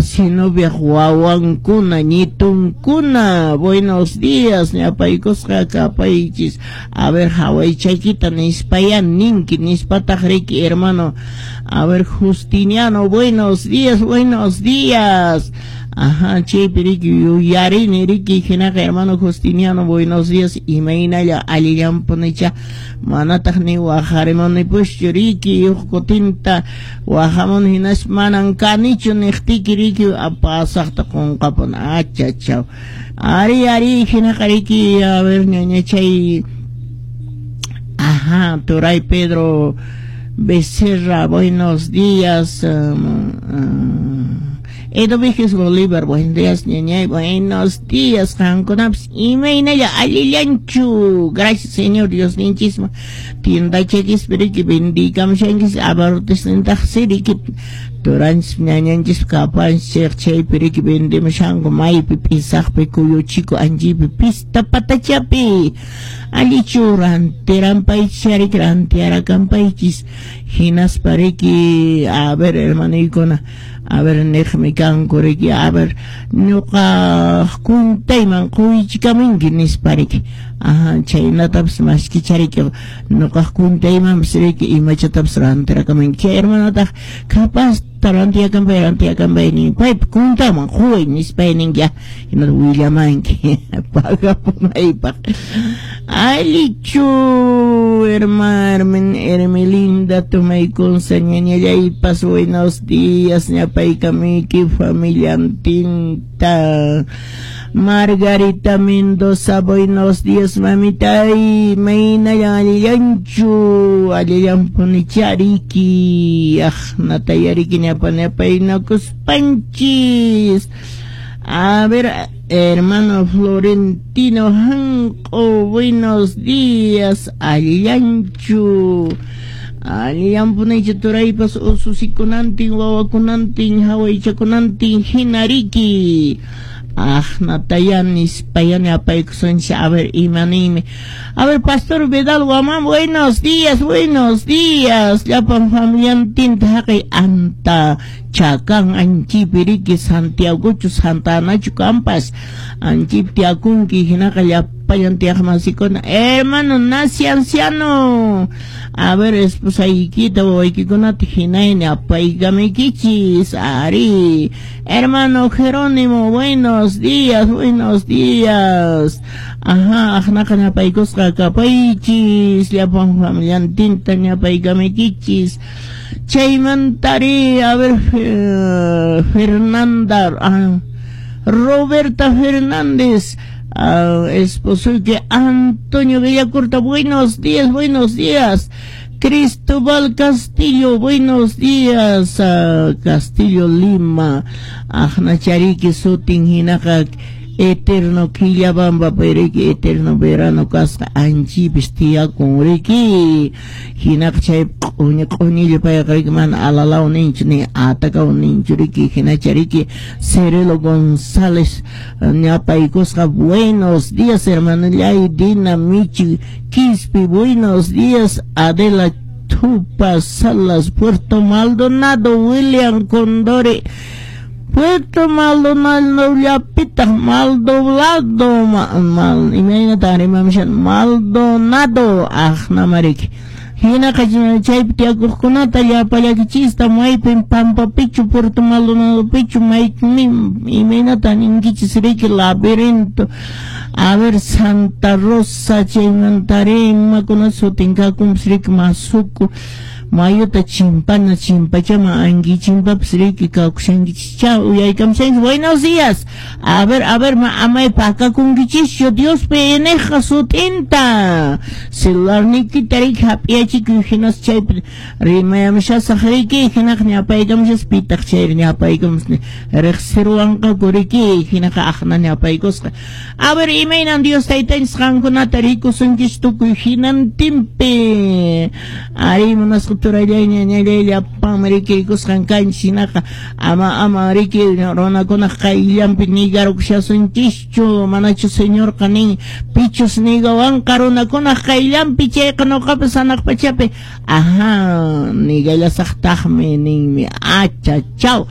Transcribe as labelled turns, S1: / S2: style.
S1: Sinoviaq wawankuna, ñitunkuna, buenos días, ñapaykusqa kapaychis. A ver, hawaychaykita nispaya ninki, nispataq riki hermano. A ver, Justiniano, buenos días, buenos días. Ajá, chaypi riki yuyarini riki hinaqa hermano Justiniano, buenos días, imaynalla allillanpunicha, manataq ni waqarimunipuschu riki, huk kutinta waqamun hinas manan kanichu niqtiki riki pasaqta qunqapun, achachaw. Ari, ari, hinaqa riki, a ver, ñañachay, ajá, Turay Pedro Becerra, buenos días. Edo Bolívar, buenos días, ñañay, buenos días, qankunapas imaynalla allillanchu, gracias Señor Dios ninchisma, tiendachakispi riki bendikamshankis, abarrotesnintaq riki, turanchis ñañanchis kapanchis chaypi riki vendemushanku maypi p'isaqpi kuyuchiku anchipi pista patachapi, allichu rantiranpaychis riki rantiarakanpaychis, hinaspa riki, a ver hermanoykuna, a ver niqmi kanku riki, a ver ñuqa kuntayman quychikamunki nispa riki, ajá, chaynatapas maskicha riki ñuqaq kuntaymanpas riki imachatapas rantirakamunki, chay hermanotaq capaz rantiyakanpay rantiyakanpay nin paypa kuntaman quway nispay ninki ya hinata willamanki pagapunaypaq. Allichu hermano Hermelinda Tumaykunsa ñañallaypas buenos días ñapaykamuyki familiantinta. Margarita Mendoza, buenos días mamita, imaynallan allillanchu, allillanpunicha riki, aqnataya riki ñapa ñapaynakuspanchis. A ver, hermano Florentino Hanco, buenos días, allillanchu. Allillanpunicha turaypas ususikunantin, wawakunantin, hawaychakunantin hina riki. Aqnataya nispayani apaykusunchis, a ver imaninmi. A ver, Pastor Vidal Guamán, buenos días, buenos días. Llapan familiantinta haqay anta chakan anchipi riki Santiagochu Santa Anachu kampas anchipi tiyakunki hinaqa llapallan tiyaqmasikuna. Hermano nazi anciano, a ver esposaykita wawaykikunata hinayni apaykamuykichis. Ari, hermano Jerónimo, buenos días, buenos días. Ajá, aqnaqa ñapaykusqa kapaychis, llapan familiantinta ñapaykamuykichis. Chaymantari, a ver, Fernanda, Roberta Fernández, esposo que Antonio Villacurta, buenos días, buenos días. Cristóbal Castillo, buenos días. Castillo Lima, aqnachariki sutin hinaqa eterno Quillabamba riki eterno verano kasqa anchipis tiyakun riki, hinaqa chay q'uñi q'uñilla payqa riki mana alalaw ninchu ni atakaw ninchu riki, hinacha riki Cerelo González ñapaykusqa, buenos días hermanallay. Dina Michi Quispi, buenos días. Adela Tupa Salas, Puerto Maldonado, William Condori, Puerto Maldonado llapitaq Maldoblado, mal, imaynata rimamshan Maldonado aqnamariki. Hinaqa chaypi tiyakuqkunata llapallakichista maypin Pampapichu Puerto Maldonadopichu maymi imaynata ninkichis riki laberinto. A ver, Santa Rosa chaymantari imakuna sutin kakunpas riki Masuku mayuta chimpana chimpachaman anki chimpapas riki kawkushankichis uyaykamushanchis. Buenos días. A ver, amay pakakunkichischu Diospi ineqqa sutinta celularniykita riki hap'iyachikuy hinas chaypi rimayamushasaq riki, hinaqa ñapaykamushas pitaq chayri ñapaykamus riqsiruwanqaku riki, hinaqa aqna ñapaykusqa. A ver, imaynan Dios taytanchis qankunata rikusunchis tukuy hinantinpi. Ari munasqa turallay ñañallay llapanmi riki rikusqan kanchis, hinaqa ama riki runakunaq qayllanpi nigarukushasunchischu, manachu Señorqa nin pichus nigawanqa runakunaq qayllanpi chayqa nuqapas hanaq pachapi ajá nigallasaqtaqmi ninmi. Achachaw.